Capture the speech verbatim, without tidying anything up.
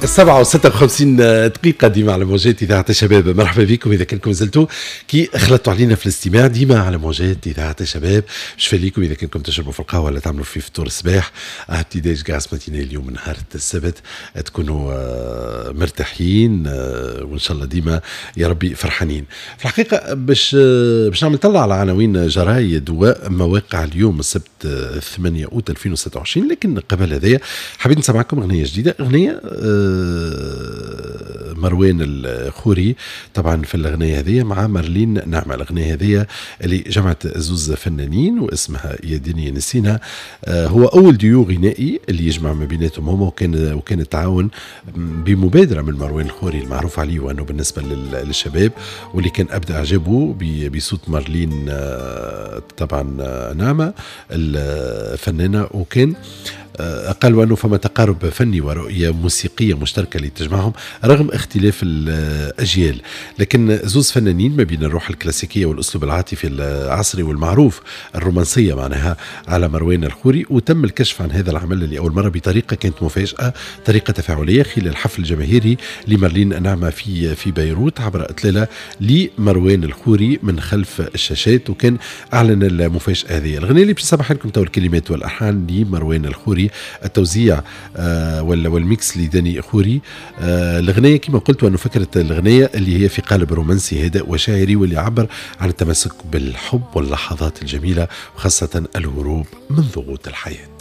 السبعة وستة وخمسين دقيقة ديما على موجات إذاعة الشباب. مرحبا بكم إذا كنكم زلتوا كي خلطتوا علينا في الاستماع ديما على موجات إذاعة الشباب. شفا ليكم إذا كنكم تشربوا في القهوة ولا تعملوا في فطور الصباح، petit-déj grasse matinée. اليوم نهار السبت تكونوا آه، مرتاحين آه، وإن شاء الله ديما يا ربي فرحانين. في الحقيقة باش آه، باش نعمل طلع على عناوين جرايد ومواقع اليوم السبت ثمانية أوت ألفين وستة وعشرين، لكن قبل هذايا حبيت نسمعكم أغنية جديدة، أغنية مروان الخوري طبعا في الأغنية هذه مع مارلين نعمة. الأغنية هذه اللي جمعت زوز فنانين واسمها يا دنيا نسينا. آه، هو أول ديو غنائي اللي يجمع ما بيناتهم هما، وكان وكان التعاون بمبادرة من مروان الخوري المعروف عليه وأنه بالنسبة للشباب، واللي كان أبدى إعجابه بصوت مارلين آه، طبعا آه، نعمة الفنانة، وكان آه، قالوا أنه فما تقارب فني ورؤية موسيقية مشتركة اللي تجمعهم رغم اختلاف الأجيال، لكن زوز فنانين ما بين الروح الكلاسيكية والأسلوب العاطفي العصري والمعروف الرومانسية معناها على مروان الخوري. وتم الكشف عن هذا العمل لأول مرة بطريقة كانت مفاجأة، طريقة تفاعلية خلال حفل جماهيري لمارلين نعمة في في بيروت عبر إطلالة لمروان الخوري من خلف الشاشات، وكان أعلن المفاجأة هذه. الأغنية اللي باش نسمعها لكم تو الكلمات والألحان لمروان الخوري، التوزيع آه، وال mix لداني خوري. آه، الأغنية كما قلت أنه فكرة الأغنية اللي هي في قالب رومانسي هادئ وشاعري، واللي يعبر عن التمسك بالحب واللحظات الجميلة وخاصة الهروب من ضغوط الحياة.